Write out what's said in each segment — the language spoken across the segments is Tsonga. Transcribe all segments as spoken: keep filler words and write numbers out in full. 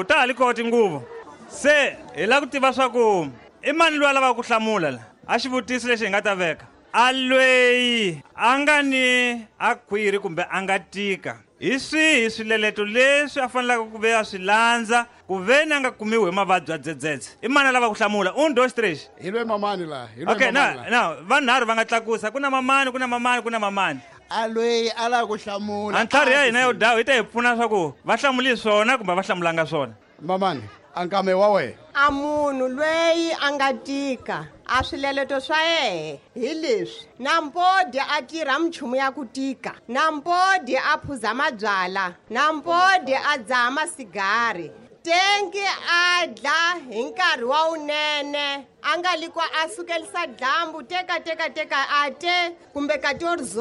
Ta ha li koho tinguvu. Se hi lava ku tiva swa ku i mani loyi a lavaka ku hlamula la a xivutiso lexi hi nga ta veka. A lweyi a nga ni a khwiri kumbe a nga tika, hi swihi swileleto leswi a faneleke ku ve a swi landza ku ve ni a nga kumiwi hi mavabyi ya dzedzedze? I mani a lava ku hlamula? Un, dos, tres. Hi lwe mamani laha, hi lwe Okay, mamani na laha. na vanharhu va nga tlakusa. Ku na mamani, ku na mamani, ku na mamani. A lweyi a lava ku hlamula. A ntlhari ya hina yo dawu yi ta hi pfuna swa ku va hlamuli swona kumbe va hlamulanga swona. Mamani, a nkame wa wena. A munhu lweyi a nga tika, a swileleto swa yehe hi leswi: nampodi a tirha minchumu ya ku tika, nampodi a phuza mabyala, nampodi a dzaha masigari, tenki a dla hi nkarhi wa wunene, a nga li ku a sukelisa dyambu, teka teka teka a te kumbe quatorze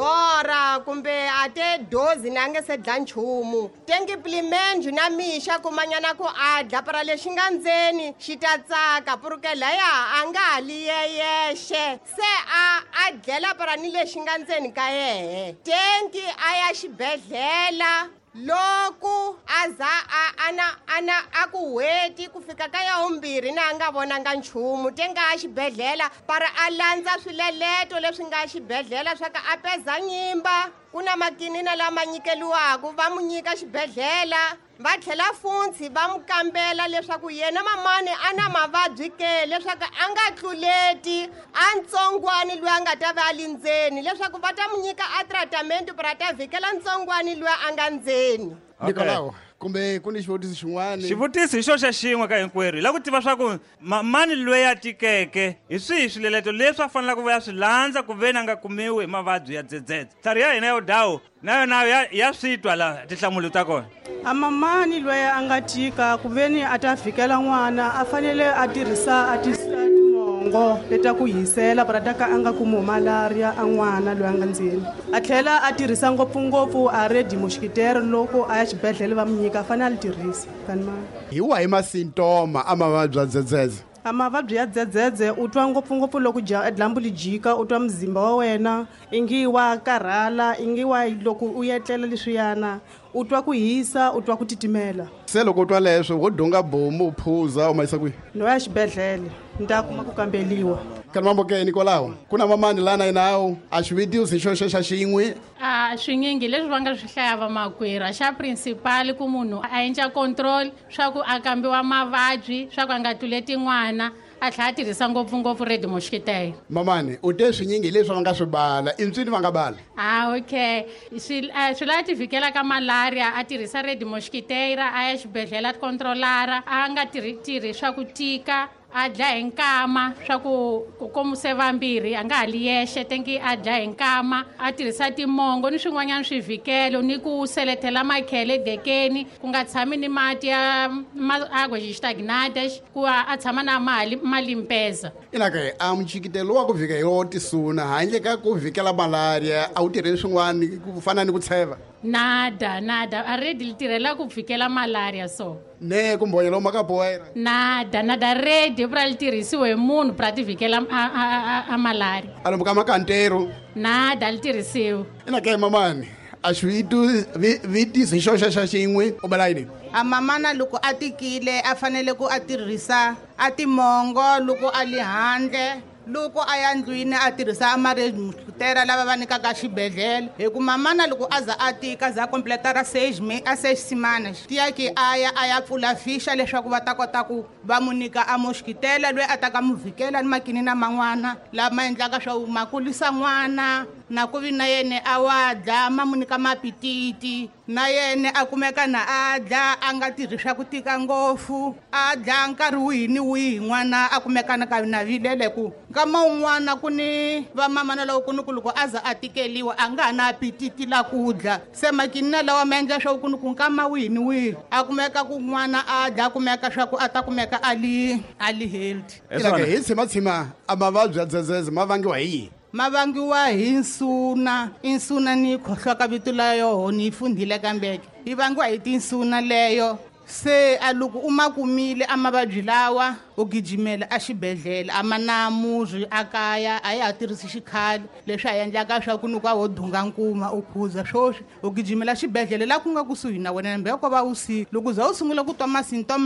kumbe a te dozi na a nga se dla nchumu. Tenki plimenju na mixa kumanyana ku a dla para lexi nga ndzeni xi ta tsaka, purukela laya a nga ha li yeyexe, se a a dlela para ni lexi nga ndzeni ka yehe. Tenki a ya xibedhlele loko a za a ana ana a ku hweti ku fika ka ya vumbirhi na a nga vonanga nchumu, te nga ya xibedhlele para a landza swileleto leswi nga xibedhlele swa ka a peza nyimba. Ku na makinina lama nyikeliwaka, va mu nyika xibedhlele, va tlhela funtshi va mu kambela leswaku yena mamani a na mavabyi ke, leswaku a nga tluleti a ntsongwani loyi a nga ta va a li ndzeni, leswaku va ta mu nyika a tratament para ta vhikela ntsongwani loyi a nga ndzeni. Okay. Nikolao, kumbe ku ni xivutiso xin'wana? Xivutiso hi xo xa xin'we ka hinkwerhu. Hi lava ku tiva swa ku mamani loyi a tikeke hi swihi swileleto leswi a faneleke ku va ya swi landza ku ve ni a nga kumiwi hi mavabyi ya dzedzedze. Ntlhari ya hina yo dawu na yona ya, ya swi twa la tinhlamulo ta kona. A mamani loyi a nga tika ku ve ni a ta vhikela n'wana a fanele a tirhisa a timongo leta ku hisela para ta ka a nga kumi malaria a n'wana loyi a nga ndzeni. A tlhela a tirhisa ngopfungopfu a red mosquitero loko a ya xibedhlele va mu nyika, a fanele a li tirhisa. Kani ma? Hi wahi masintoma a mavabyi ya dzedzedze? A mavabyi ya dzedzedze u twa ngopfungopfu loko dya-, dyambu li jika, u twa muzimba wa wena ingi wa karhala, ingi wa loko u etlela leswiyana, u twa ku hisa, u twa ku titimela. Se loko u twa leswo, wo dunga bomu, u phuza, u ma yisa kwihi? No ya xibedhlele, ni ta kuma ku kambeliwa. Kani mambo ke, Nikolao, ku na mamani lana yinawu, a xivutiso hi xo xa xin'we. A swinyingi leswi va nga swi hlaya vamakwerhu, a xa principal ku munhu a endla control swa ku a kambiwa mavabyi, swa ku a nga tluleti n'wana, a tlhela a tirhisa ngopfungopfu red mosquito. Mamani, u te swinyingi leswi va nga swi bala, i ntswini va nga bala? Ah, okay. Swi, eh, swi lava ti vhikela ka malaria, a tirhisa red mosquito, a ya xibedhlele a controlara, a nga tirhi tirhi swa ku tika, a dlaya hi nkama swa ku ku komuse vambirhi, a nga ha li yexe, tenki a dlaya hi nkama, a tirhisa timongo ni swin'wanyana swivhikelo, ni ku seletela makhele edekeni, ku nga tshami ni mati ya ma-, água estagnadas, ku a, a tshama na mali, malimpeza. Ina ke, a mchikitelo wa ku vhika hi wo tisuna, handle ka ku vhikela malaria, a wu tirheli swin'wana ku fana ni ku tsheva? Nada, nada. A redi li tirhela ku vhikela malaria so. Ne ku mbonyela u maka poeira. Nada, nada. Redi pra li tirhisiwe hi munhu pra ti vhikela a, a, a, a malaria. A lomu ka makantero. Nada, li tirhisiwe. Ina ke mamani, a xi vi-, vitiso hi xo xa xa xin'we, u bela yini? A mamana loko a tikile a fanele ku a tirhisa a timongo loko a li handle, loko a ya ndlwini a tirhisa amaredmutera lava va nyikaka xibedhlele. Hi ku mamana loko a za a tika, za completa ra seis me-, a seis semanas, tiya ki a ya, a ya pfula fixa leswaku va ta kota ku va mu nyika a mosquitela loyi a ta ka mu vhikela ni makinina man'wana lama endlaka swa ku ma kulisa n'wana, na ku vi na yena a wa dla, ma mu nyika mapititi, na yena a kumeka na a dla, a nga tirhi swa ku tika ngopfu, a dla nkarhi wihi ni wihi n'wana a kumeka na ka na vilele ku nkama wun'wana ku ni vamamana loko ku ni ku loko a za a tikeliwa a nga ha na apetiti la ku dla. Se makinina lawa ma endla swa ku ni ku nkama wihi ni wihi a kumeka ku n'wana a dla, a kumeka swa ku a ta kumeka a li, a li healthy. Hi Ina ke, swona. hi tshimatshima a mavabyi ya dzedzedze ma vangiwa hi yini? Ma vangiwa hi nsuna. Insuna ni khohlwa ka vito la yoho, ni yi fundhile kambeke. Yi vangiwa hi tinsuna leyo. Se a loko u ma kumile a mavabyi lawa, u gijimela a xibedhlele, a ma na murhi a kaya, a ya ha tirhisi xikhale leswi a endlaka swa ku ni ku a wo dunga nkuma u phuza swoswi, u gijimela xibedhlele la ku nga kusuhi na wena, hambi ko va vusiku. Loko u za u sungula ku twa masintoma